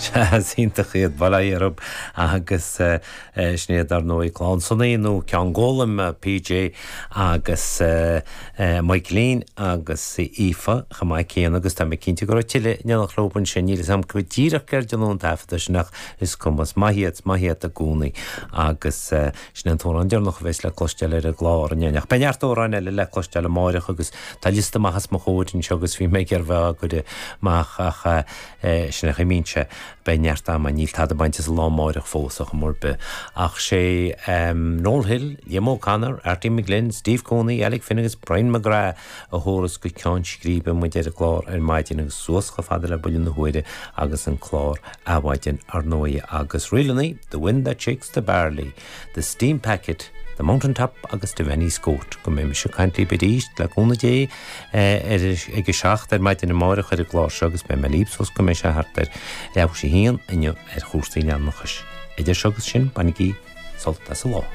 Sea, is iontach iad, bail ó Dhia orthu agus sin iad dar ndóigh Clann Sonaí nó Ceann Gólaim, PJ agus Michaelín agus Aoife chomh maith céanna agus tá mé cinnte go raibh tuilleadh in éineacht leo ansin, níl 'fhios a'm go díreach céard a dhéanadh an taifeadadh sin ach is cuma, is maith iad, is maith iad i gcónaí agus sin é an t-amhrán deireanach a bheas le cloisteáil ar an gclár inniu. Ach beidh neart amhráin eile le cloisteáil amáireach agus tá liosta amach os mo chomhair anseo agus bhí mé ag iarraidh bheith á gcur amach ach sin é an chaoi a mbíonn sé. Beidh neart ama, níl tada bainte as an lá amáireach fós ar chuma ar bith. Ach sé Noel Hill, Liam O'Connor, Arty McGlynn, Steve Cooney, Alec Finn agus Brian McGrath a thabharfas go ceann scríbe muid ar an gclár ar maidin agus suas chomh fada le buille na huaire agus an clár Adhmhaidin ar ndóigh agus ríleanna The Wind That Shakes the Barley, The Steam Packet, The Mountain Top agus Devaney's Goat. Go mbeidh mise ag caint libh arís, le cúnamh Dé, ar ag a 7 ar maidin amáireach ar an gclár seo agus beidh mé libh suas go mbeidh sé thart ar leathuair théis a haon inniu ar chúrsaí leanúnachais. Idir seo agus sin, bainigí sult as an lá.